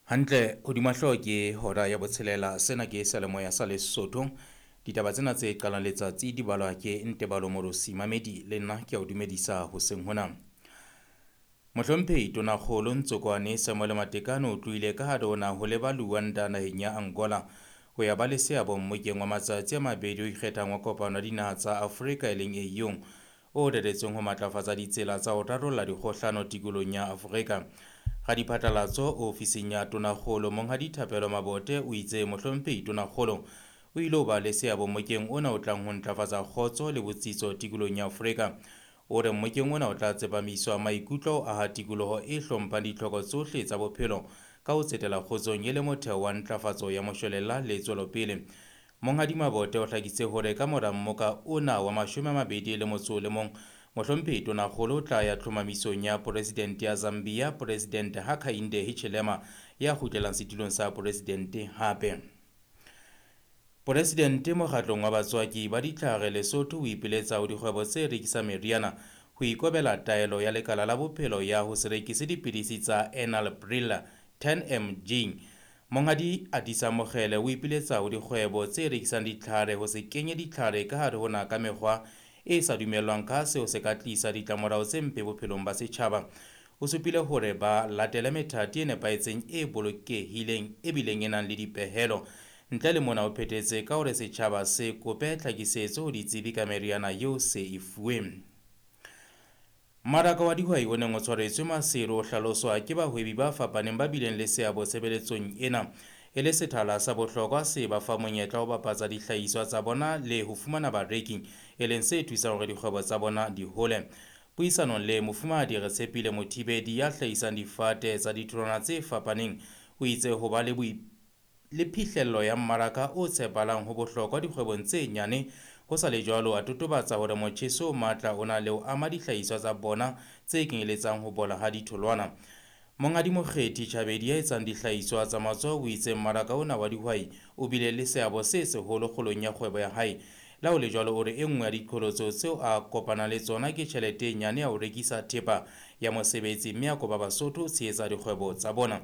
Hantle hodima hlooho ke hora ya botshelela. Sena ke seyalemoya sa Lesotho. Ditaba tsena tse qalang letsatsi di balwa ke Ntebalo Morosi Mamedi le nna ke a o dumedisa hoseng hona. Mohlomphehi Tonakgolo Ntsokwane Samuel Matekane o tlohile ka hare ho naha ho leba Luanda naheng ya Angola ho ya ba le seabo mmokeng wa matsatsi a mabedi o ikgethang wa kopano ya dinaha tsa Afrika e leng AU o reretsweng ho matlafatsa ditsela tsa ho rarolla dikgohlano tikolohong ya Afrika. Radiphatlalatso ofising ya Tonakgolo Monghadi Thapelo Mabote o itse Mohlomphehi Tonakgolo o ile ho ba le seabo mmokeng ona o tlang ho ntlafatsa kgotso le botsitso tikolohong ya Afrika. O re mmokeng ona o tla tsepamiswa maikutlo ho aha tikoloho e hlomphang ditlhoko tsohle tsa bophelo ka ho tsetela kgotsong e le motheo wa ntlafatso ya moshwelella le tswelopele. Monghadi Mabote o hlakisitse hore ka mora mmoka ona wa 21, Mohlomphehi Tonakgolo o tla ya tlhomamisong ya Poresidente ya Zambia, Poresidente Hakainde Hichilema ya kgutlelang setulong sa poresidente hape. Poresidente mokgatlong wa batswaki ba ditlhare Lesotho o ipiletsa ho dikgwebo tse rekisang meriana ho ikobela taelo ya lekala la bophelo ya ho se rekise dipidisi tsa Enalapril 10 mg. Monghadi Adisa Mokgele o ipiletsa ho dikgwebo tse rekisang ditlhare ho se kenye ditlhare ka hare ho naha ka mekgwa e sa dumellwang ka seo se ka tlisa ditlamorao tse mpe bophelong ba setjhaba. O supile hore ba latele methati e nepahetseng e bolokehileng e bileng e nang le dipehelo. Ntle le mona o phethetse ka hore setjhaba se kope tlhakisetso ho ditsebi ka meriana eo se e fuweng. Mmaraka wa dihwai o neng o tshwaretswe Maseru o hlaloswa ke bahwebi ba fapaneng ba bileng le seabo tshebeletsong ena e le sethala sa bohlokwa se ba fa monyetla wa ho bapatsa dihlahiswa tsa bona le ho fumana bareki, e leng se thusang hore dikgwebo tsa bona di hole. Puisanong le Mofumahadi Retshepile Mothibedi ya hlahisang difate tsa ditholwana tse fapaneng, o itse ho ba le le phihlello ya mmaraka o tshepahalang ho bohlokwa dikgwebong tse nyane. Ho sa le jwalo, a totobatsa hore motjheso o matla o na le ho ama dihlahiswa tsa bona tse kenyeletsang ho bola ha ditholwana. Monghadi Mokgethi Chabedi ya etsang dihlahiswa tsa matsoho o itse mmaraka ona wa dihwai o bile le seabo se seholo kgolong ya kgwebo ya hae. Le ha ho le jwalo, o re e nngwe ya diqholotso tseo a kopanang le tsona ke tjhelete e nyane ya ho rekisa thepa ya mosebetsi mme a kopa Basotho ho tshehetsa dikgwebo tsa bona.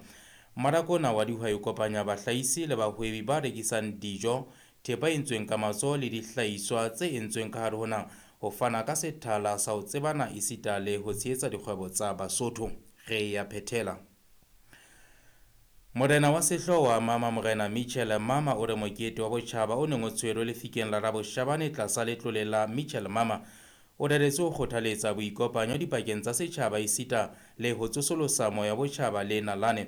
Mmaraka ona wa dihwai o kopanya bahlahisi le bahwebi ba rekisang dijo, thepa e entsweng ka matsoho le dihlahiswa tse entsweng ka hare ho naha ho fana ka sethala sa ho tsebana esita le ho tshehetsa dikgwebo tsa Basotho. Re ya phethela. Morena wa sehlooho wa Mama Morena Mitchell Mama o re mokete wa botjhaba o neng o tshwerwe lefikeng la Raboshabane tlasa letlole la Mitchell Mama o reretswe ho kgothaletsa boikopanyo dipakeng tsa setjhaba esita le ho tsosolosa moya wa botjhaba le nalane.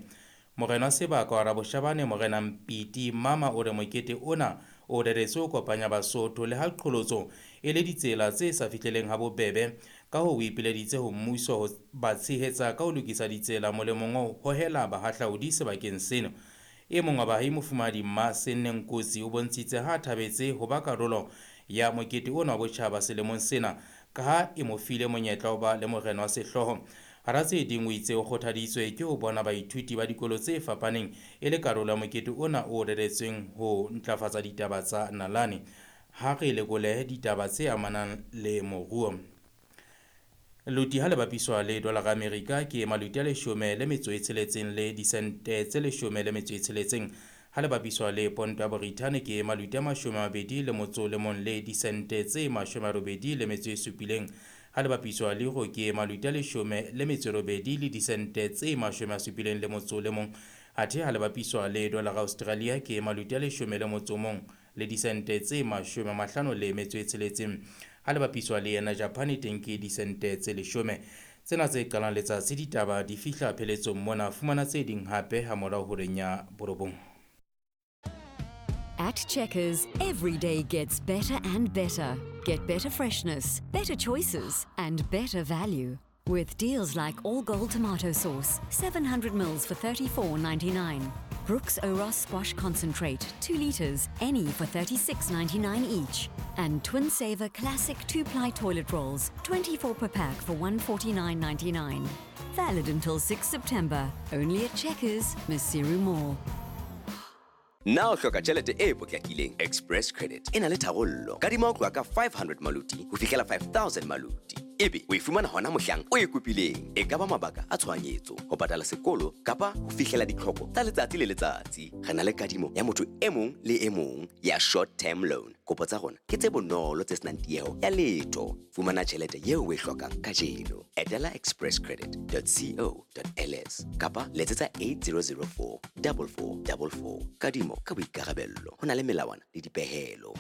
Morena wa sebaka wa Raboshabane Morena Mpiti Mama o re mokete ona o reretswe ho kopanya Basotho le ha qholotso e le ditsela tse sa fihleleng ha bobebe. Ka hoo o ipileditse ho mmuso ho ba tshehetsa ka ho lokisa ditsela molemong wa ho hohela bahahlaudi sebakeng seno. E mong wa baahi Mofumahadi Mmasenne Nkosi o bontshitse ha a thabetse ho ba karolo ya mokete ona wa botjhaba selemong sena ka ha e mo file monyetla wa ho ba le morena wa sehlooho. Hara tse ding o itse o kgothaditswe ke ho bona baithuti ba dikolo tse fapaneng e le karolo ya mokete ona o reretsweng ho ntlafatsa ditaba tsa nalane. Ha re lekole ditaba tse amanang le moruo. Loti ha le bapiswa le dolara Amerika ke maluti a 16 le disente tse 16. Ha le bapiswa le ponto ya Borithane ke maluti a 21 le disente tse 87. Ha le bapiswa le euro ke maluti a 18 le disente tse 71. Athe ha le bapiswa le dolara Australia ke maluti a 11 le disente tse 56. Ha le bapiswa le yena Japan teng ke disente tse 10. Tsena tse qalang letsatsi ditaba di fihla pheletsong mona. Fumana tse ding hape ha morao horeng ya 9. At Checkers, every day gets better and better. Get better freshness, better choices, and better value. With deals like All Gold tomato sauce, 700 mils for $34.99. Brooks Oros squash concentrate, 2 litres, any for $36.99 each. And Twin Saver classic 2-ply toilet rolls, 24 per pack for $149.99. Valid until 6 September. Only at Checkers, Maseru Mall. Na o hloka tjhelete e potlakileng? Express Credit e na le tharollo. Kadima ho tloha ka 500 maluti ho fihlela 5000 maluti. Ebe o e fumana hona mohlang o e kopileng. E ka ba mabaka a tshohanyetso, ho patala sekolo kapa ho fihlela ditlhoko tsa letsatsi le letsatsi. Re na le kadimo ya motho e mong le e mong ya short term loan. Kopo tsa rona ke tse bonolo tse senang tieho ya letho. Fumana tjhelete eo o e hlokang kajeno. Etela expresscredit.co.ls kapa letsetsa 8004 4444. Kadimo ka boikarabello. Ho na le melawana le dipehelo.